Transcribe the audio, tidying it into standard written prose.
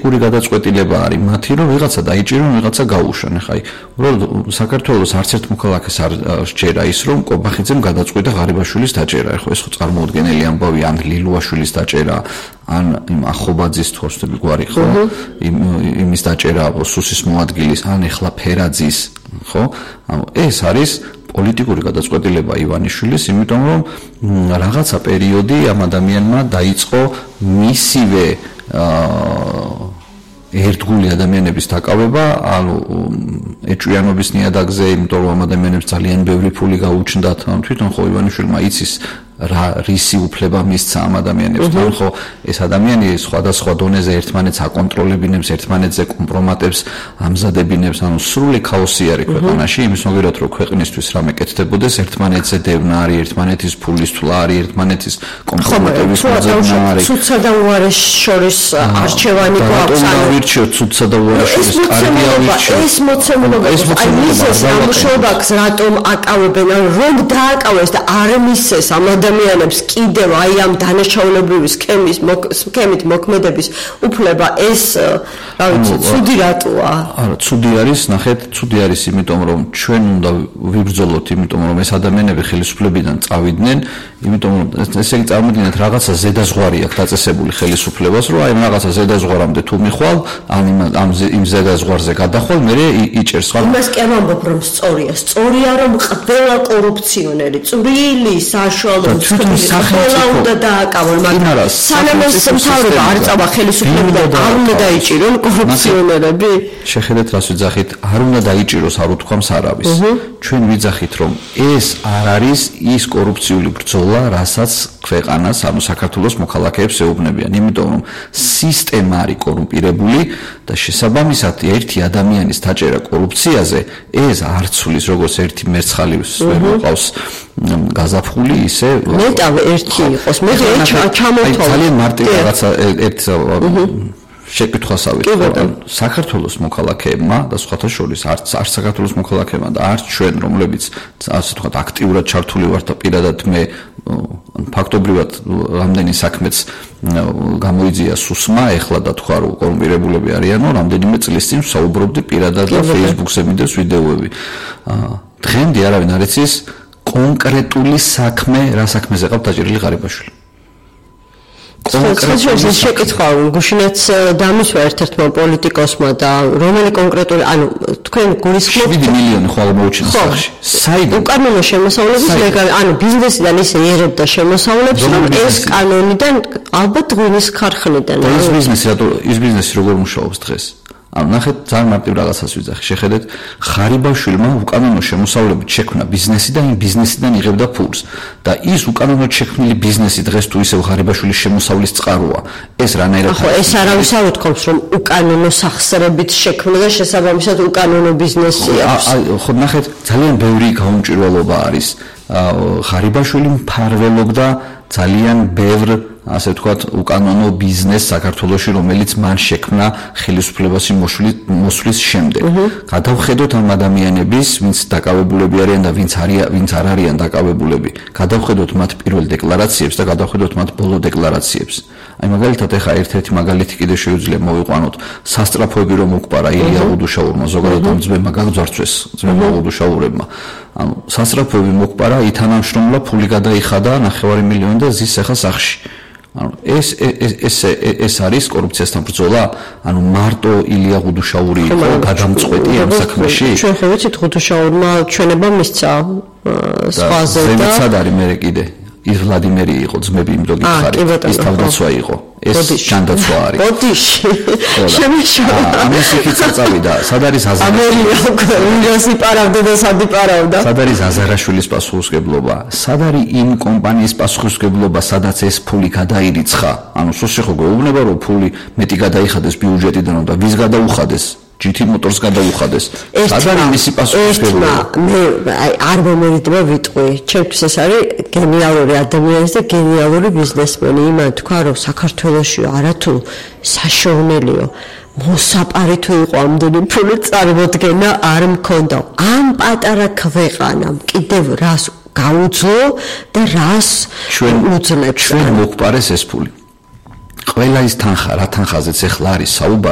პოლიტიკური გადაწყვეტილება არის მათი, რომ ვიღაცა დაიჭირონ, ვიღაცა გაუშვან. ეხლა უბრალოდ საქართველოს არც ერთ მოქალაქეს არ სჯერა ის, რომ კობახიძემ გადაწყვიტა ღარიბაშვილის დაჭერა. ეხლა ეს ხო წარმოუდგენელი ამბავი, ან ლილუაშვილის დაჭერა, ან იმ ახობაძის თორსტები გვარი ხო? იმის დაჭერა სუსის მოადგილის, ან ეხლა ფერაძის, ხო? ანუ ეს არის პოლიტიკური გადაწყვეტილება ივანიშვილის, იმიტომ რომ რაღაცა პერიოდი ამ ადამიანმა დაიწყო მისივე ერთგული ადამიანების დაკავება, ანუ ეჭვიანობის ნიადაგზე, იმიტომ რომ ამ ადამიანებს ძალიან ბევრი ფული გაუჩნდათ, ანუ თვითონ ხო ივანიშვილმა იცის რისი უფლება მისცა ამ ადამიანებს, თან ხო ეს ადამიანი სხვადასხვა დონეზე ერთმანეთს აკონტროლებინებს, ერთმანეთზე კომპრომატებს ამზადებინებს, ანუ სრული ქაოსი არის ქვეყანაში, იმის მოგერად რომ ქვეყნისთვის რამე კეთდებოდეს, ერთმანეთზე დევნა არის, ერთმანეთის ფულის თვლა არის, ერთმანეთის კომპრომატების მოძებნა არის. ცუდსა და უარეს შორის არჩევანი გვაქვს. ვირჩიოთ ცუდსა და უარეს შორის, კარგია ვირჩიოთ. ეს მოცემულობა, აი მისეს ამუშავებს რატომ აკავებენ, რომ დააკავეს და არ მისეს ამ ადამიანებს კიდევ აი ამ დანაშაულებრივი სქემით მოქმედების უფლება, ეს რა ვიცი, ცუდი რატოა? არა, ცუდი არის, ნახეთ, ცუდი არის იმიტომ რომ ჩვენ უნდა ვიბრძოლოთ, იმიტომ რომ ეს ადამიანები ხელისუფლებიდან წავიდნენ, იმიტომ რომ ესე იგი წარმოვიდგინეთ რაღაცა ზედაზღვარი აქვს დაწესებული ხელისუფლებას, რომ აი რაღაცა ზედაზღვარამდე თუ მიხვალ, ამ იმ ზედაზღვარზე გადახვალ, მე იჭერს ხარ. იმას კი არ ვამბობ რომ სწორია რომ ყველა კორუფციონერი, წვრილი, საშუალო ყველა უნდა დააკავონ, მაგრამ სანამ ეს მთავრობა არ წავა ხელისუფლებიდან, არ უნდა დაიჭირონ კორუფციონერები. შეხედეთ რას ვიძახით, არ უნდა დაიჭიროს, არ უთქვამს არავის. ჩვენ ვიძახით რომ ეს არ არის ის კორუფციული ბრძოლა, რასაც ქვეყანას, ანუ საქართველოს მოქალაქეებს ეუბნებიან, იმიტომ რომ სისტემა არის კორუმპირებული და შესაბამისად ერთი ადამიანის დაჭერა კორუფციაზე ეს არ ცვლის როგორც ერთი მერცხალის ვერ მოყავს გაზაფხული, ისე მეტავ ერთი იყოს, მე ჩამოთვალე. ძალიან მარტივი რაღაცა ერთ შეკითხვასავით, საქართველოს მოქალაქეებმა და სხვათა შორის არც საქართველოს მოქალაქეებმა და არც ჩვენ, რომლებიც ასე ვთქვათ, აქტიურად ჩართული ვართ და პირადად მე ფაქტობრივად რამდენი საქმეც გამოიძია სუსმა, ეხლა და თქვა რომ კორუმპირებულები არიანო, რამდენიმე წლის წინ ვსაუბრობდი პირადად და Facebook-ზე მიდევს ვიდეოები. დღემდე არავინ არ იცის კონკრეტული საქმე, რა საქმეზე ყავთ დაჭერილი ღარიბაშვილი. კონკრეტულად შეკითხვა გუშინაც დამისვა ერთ-ერთმა პოლიტიკოსმა და რომელი კონკრეტული, ანუ თქვენ გულისხმობთ 7 მილიონი ხვალ მოუჩინოს სახში. საიდან? უკანონო შემოსავლების ლეგალი, ანუ ბიზნესიდან ისე ერებდა შემოსავლებს, რომ ეს კანონიდან ალბათ ღვინის ქარხნიდან. ის ბიზნესი როგორ მუშაობს დღეს? ანუ ნახეთ, ძალიან მარტივ რაღაცას ვიძახი. შეხედეთ, ღარიბაშვილმა უკანონო შემოსავლებით შექმნა ბიზნესი და იმ ბიზნესიდან იღებდა ფულს. და ის უკანონოდ შექმნილი ბიზნესი დღეს თუ ისევ ღარიბაშვილის შემოსავლის წყაროა. ეს რანაირად ხო, ეს არავის არ უთქვამს, რომ უკანონო სახსრებით შექმნა და შესაბამისად უკანონო ბიზნესი აქვს. ხო, ნახეთ, ძალიან ბევრი გაუმჭირვალობა არის. ღარიბაშვილი მფარველობდა ძალიან ბევრ ასე ვთქვათ, უკანონო ბიზნეს საქართველოში, რომელიც მან შექმნა ხელისუფლებაში მოსვლის შემდეგ. გადავხედოთ ამ ადამიანების, ვინც დაკავებულები არიან და ვინც არ არიან დაკავებულები. გადავხედოთ მათ პირველ დეკლარაციებს და გადავხედოთ მათ ბოლო დეკლარაციებს. აი მაგალითად ეხა ერთ-ერთი მაგალითი კიდე შეუძლია მოვიყვანოთ. სასტრაფოები რომ მოყარა ილია უდუშაურმა, ზოგადად ამ ძმებმა გაგძარცვეს, ძმებმა უდუშაურებმა. ანუ სასტრაფოები მოყარა, ითანამშრომლა, ფული გადაიხადა 9 მილიონი და ზის ახლა სახში. ანუ ეს არის კორუფციასთან ბრძოლა? ანუ მარტო ილია გუდუშაური იყო გადამწყვეტი ამ საქმეში? ჩვენ ხო ვიცით გუდუშაურმა ჩვენება მისცა სხვაზე და ზემიცად არის მე კიდე ის ვლადიმერი იყო ძმები იმ დოგი ხარი ის თავდაცვა იყო ეს ჯანდაცვა არის ბოდიში შემეშალა ამას იქით წავიდა სად არის ამერია პარავდა და სადი პარავდა სად არის აზარაშვილის პასუხისმგებლობა სად არის იმ კომპანიის პასუხისმგებლობა სადაც ეს ფული გადაირიცხა ანუ სულში ხო გვეუბნება რომ ფული მეტი გადაიხადეს ბიუჯეტიდან და ვის გადაუხადეს GT Motors გადაუხადეს. სად არის მისი პასუხისმგებლობა? მე არ მომერიდება ვიტყვი. ჩემთვის ეს არის გენიალური ადამიანი და გენიალური ბიზნესმენი. იმან თქვა რომ საქართველოში არათუ საშოვნელიო მოსაპარი თუ იყო ამდენი ფული წარმოდგენა არ მქონდა. ამ პატარა ქვეყანამ კიდევ რას გაუძლო და რას უძლებს ჩვენ მოგვპარეს ეს ფული. ყველა ის თანხა, რა თანხაზეც ეხლა არის საუბარი